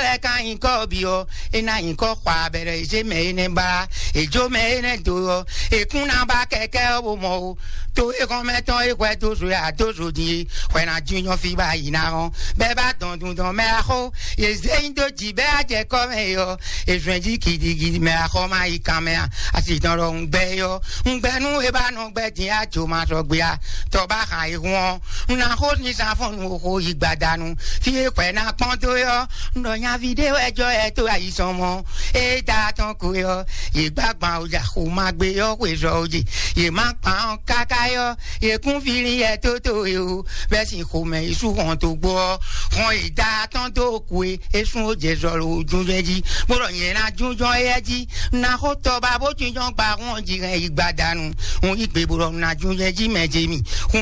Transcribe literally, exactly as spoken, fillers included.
Ɛ ka nyǐkɔ bǐ ɔ́, é ná nyǐkɔ xwa abɛɖɛ e zé mɛ énɛ́ ba, è jó mɛ énɛ́ do ɔ́, è kún ná ba kɛkɛ́ ɔ́ bó mɔ ó. To e xɔnmɛ tɔn e hwɛ dó zo ya dó zo din e hwɛ ná jínjɔ́n fí ba yi ná hɔn. Bɛ́ ba dɔn dundɔn mɛ axó, yě zé nyi dó jǐ bɛ́ á jɛ kɔ́ mɛ é ɔ́, è zɔn jí gidigidi mɛ axɔ má yi kan mɛ a, asi tɔn ɖɔ un gbɛ é ɔ́, un gbɛ nú é ba nɔ gbɛ din á jo ma sɔgbe a, tɔ ba xa e hun ɔ́, un ná xó ní zán fɔ́n nu xó yi gbadanu. Fí e hwɛ ná kpɔ́n dó é ɔ́, un ɖɔ nyaví ɖé wɛ jɔ ɛ tó ayi sɔn mɔ. Ée da tɔn ko é ɔ́, yě gbá gban o ja xo ma gbé ɔ́ xwe zɔ o je. Yě má kpan ɔ́ káká é ɔ́, yě kún fili ɛ tó tó e o. Bɛ́ sin xomɛ yi sú hɔn tó gbó ɔ́, hɔn yi da tɔn dó kwe é sún ó jɛ zɔ lo júnjɔ́n jí, bó ɖɔ nyɛ ná júnjɔ́n éyɛ́ jí. Ná xó tɔba bó jínjɔ́n gba hɔn jí hɛn yi gbadanu. Un yí gbe bó ɖɔ ná júnjɔ́n jí mɛ jɛ mi.